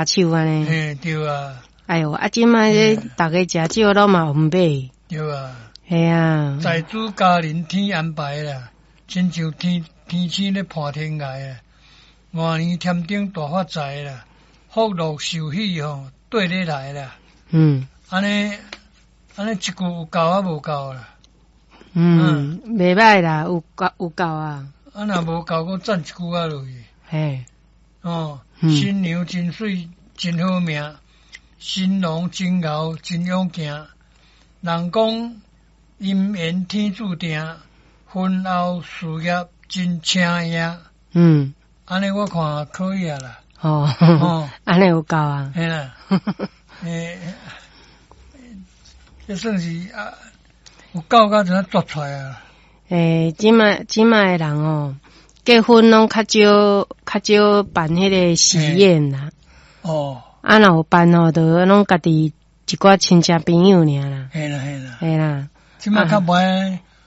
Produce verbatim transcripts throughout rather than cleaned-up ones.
手按呢。嘿，對啊。哎喲，啊，這擺這逐家食少攏嘛毋買。對啊。嘿啊。財主家人天安排啦，親像天天星咧伴天涯啊。外年添丁大發財啦，福祿壽喜吼綴咧來啦。嗯。按呢按呢一句有夠啊無夠啦？嗯，袂䆀啦，有夠有夠啊。啊，若無夠，閣讚一句仔落去。嘿。哦，新娘真媠真好命，新郎真𠢕真勇健。人講姻緣天注定，婚後事業真請贏。嗯。按呢我看可以啊啦。哦。哦，按呢有夠啊。嘿啦。欸，這算是啊，有夠甲就作出來啊。欸，這擺這擺的人哦，結婚攏較少較少辦彼个喜宴啦。哦。啊，若有辦吼，就攏家己一寡親戚朋友爾啦。嘿啦嘿啦。嘿啦。這擺較無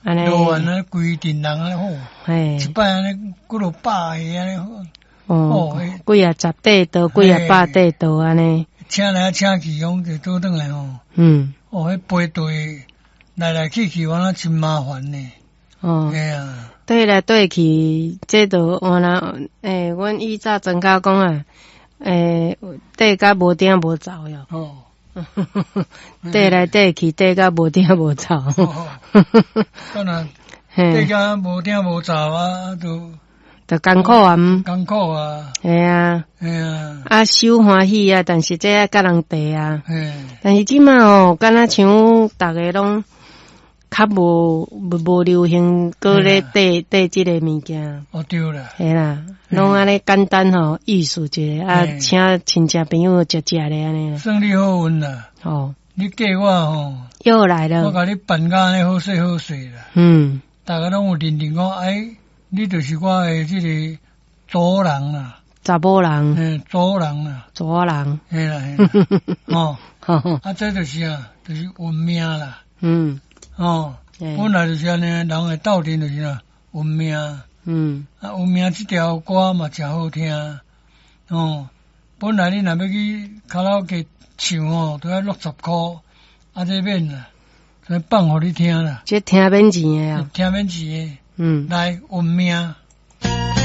按呢，路按呢規陣人按呢好。嘿。一擺按呢幾落百個按呢好。哦。幾仔十塊桌，幾仔百塊桌按呢。請來請去，攏就倒轉來吼。嗯。哦，彼排隊來來去去，原來真麻煩呢。哦。嘿啊。綴來綴去，這就原來，欸，阮以早莊跤講啊，欸，綴甲無影無走喲。哦。綴來綴去，綴甲無影無走。哦。當然，綴甲無影無走啊，就就艱苦啊。艱苦啊。嘿啊。嘿啊。啊，收歡喜啊，但是這愛佮人綴啊。嘿。但是這擺哦，敢若像逐家攏較無無流行，閣咧綴綴這个物件。哦，對啦。嘿啦，攏按呢簡單吼，意思一下啊，請親戚朋友食食咧按呢。算你好運啦。哦。你嫁我吼。又來了。我共你辦甲按呢好勢好勢啦。嗯。逐家攏有認定講，哎，你就是我的這个祖人啦。查某人。嘿，祖人啦。祖人。嘿啦嘿啦。哦。啊，這就是啊，就是運命啦。嗯。哦，本來就是按呢，人會鬥陣就是啊，運命。嗯。啊，運命這條歌嘛誠好聽。哦，本來你若欲去卡拉 OK 唱哦，都愛六十箍，啊，這免啦，這放予你聽啦。這聽免錢的啊。聽免錢的。嗯。來，運命。